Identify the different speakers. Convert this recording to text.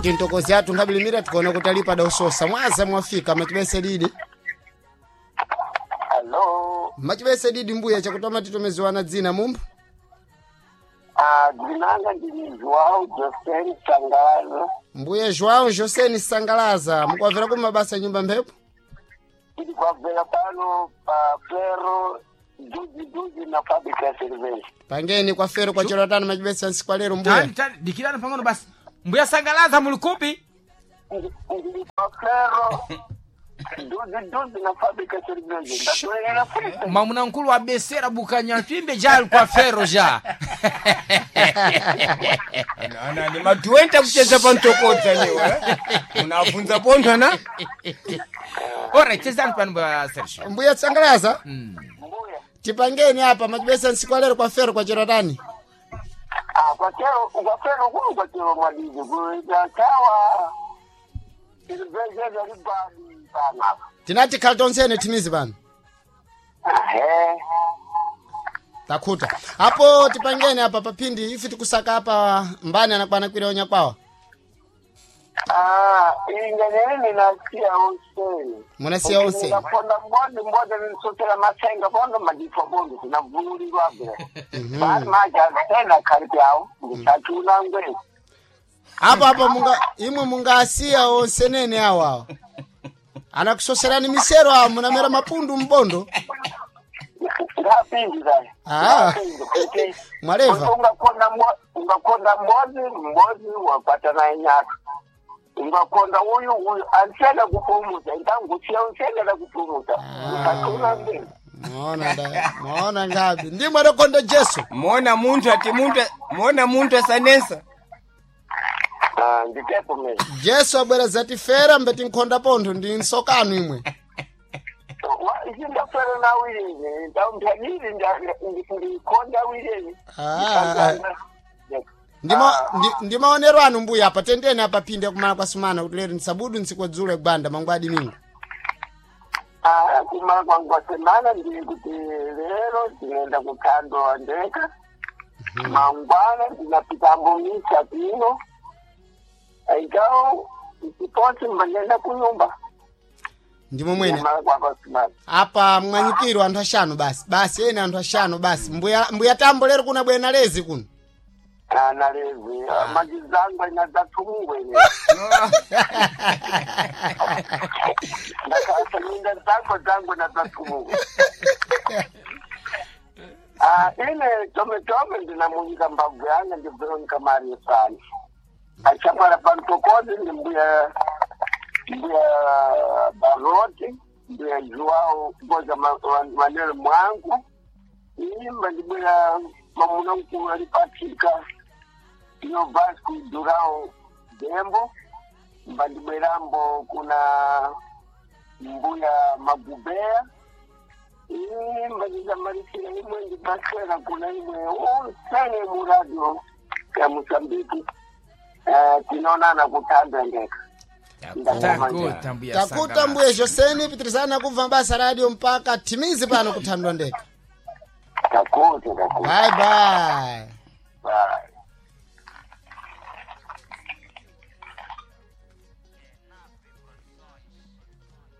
Speaker 1: Kuti ntokozi athu nkabilimira tikuona kuti alipa dausosa mwaza mwafika machibese didi.
Speaker 2: Hello.
Speaker 1: Machibese didi mbuya chakutoma titomeziwana dzina mumbu.
Speaker 2: Ah, dzinanga ndini João José Sangalaza.
Speaker 1: Mbuya João José Sangalaza mukwavera ku mabasa nyumba mphepo.
Speaker 2: Tiri kwabvera pano pa Ferro juzi juzi na fábrica ya cerveja.
Speaker 1: Pangeni kwa fero kwa chero tano machibese nsiku lero mbuya.
Speaker 3: Tani tani dikirani pang'ono basi. Mbuya Sangalaza muli kupi?
Speaker 2: Ndiri pa Ferro juzi juzi na fábrica ya cerveja. Ndatoerera futi.
Speaker 3: Mwamuna nkulu wa besera bukanyapimbe jali kwa fero ja.
Speaker 4: Nana ni matuenta kucheza pantokodza niwe. Unafunza pontho na?
Speaker 3: Ora chezani pano mbuya Sergio.
Speaker 1: Mbuya Sangalaza
Speaker 2: Mbuya.
Speaker 1: tipangeni apa machibese nsiku lero kwa fero kwa chero tani.
Speaker 2: Ah, kwa chero kwa Ferro kuno kwa chero mwadidi kuita chawa. Cerveja ya libani pana.
Speaker 1: Tinati khali tonsene timizi pano.
Speaker 2: Ehe.
Speaker 1: Takhuta. Apo tipangeni apa paphindi ife tikusaka apa mbani anakwana kwira onyakwawa.
Speaker 2: Ah, ingenene ninasiya onseni.
Speaker 1: Munasiya onseni.
Speaker 2: Ngaponda mbonde mbonde ninsotela masenga bondo madifo bondo sinavululirwa bwe. Bali manje azitena khali kyawo ngisachuna ngwe.
Speaker 1: Apo apo munga imwe mungasiya onsenene awo awo. Anakusoserani misero awo munamera mapundu mbondo.
Speaker 2: Ngapindi zai.
Speaker 1: Ah. Mwaleva.
Speaker 2: Ungakonda ungakonda mbozi mbozi wapata naye nyaka. Ungakonda uyu uyu ansena kupumuza intangusiya unsena kupumuza. Ngisachuna ngwe.
Speaker 1: Maona da, maona ngapi? Ndimwe adakonda Jesu.
Speaker 4: Mona munthu ati munthu mona munthu asanesa.
Speaker 2: Ah, nditepo mimi.
Speaker 1: Jesu abwera zatifera mbeti nkhonda pontho ndi nsokano imwe.
Speaker 2: Ndafera nawilini ndamphanyili ndikhonda wilini.
Speaker 1: Ah. Ndima ndi maonero anu mbuya apa tendeni apa phindi akumala kwa sumana kuti lero nsabudu nsikwadzule gwanda mangwadi mingu.
Speaker 2: Ah, kumala kwangu kwa semana ndili kuti lero ndinoenda kuthando wandeka mangwana ndinapita mbomisa pino aikawo ndiponsi mbandenda kunyumba
Speaker 1: Ndimo mwene.
Speaker 2: kumala kwangu kwa semana.
Speaker 1: Apa mwanyikiro anthu ashanu basi. Basi ene anthu ashanu basi. Mbuya mbuya tambo lero kuna bwena lezi kuno.
Speaker 2: Ana lezi majizangu inadzathungwe ine ndakasa minda dzangu dzangu nadzathungwe. Ah, ine tome tome ndinamunyika mbavu yanga ndi Veronica Mario sana achapala pantokozi ndi mbuya mbuya Baroti mbuya Joao Boza Manelo mwangu imba ndi mbuya mamuna mkulu alipatika iyo Vasco Durao Dembo mba ndibwerambo kuna mbuya Magubea imba ndizamarisira imwe ndibasera kuna imwe usene mu radio ya Mosambiki. Tinoonana kutanda ndeka.
Speaker 3: Takuta mbuya
Speaker 1: Takuta
Speaker 3: Sangalaza.
Speaker 1: mbuya Joseni pitirizana kubva basa radio mpaka timizi pano kuthandwa ndeka.
Speaker 2: Takuta takuta.
Speaker 1: Bye bye.
Speaker 2: Bye.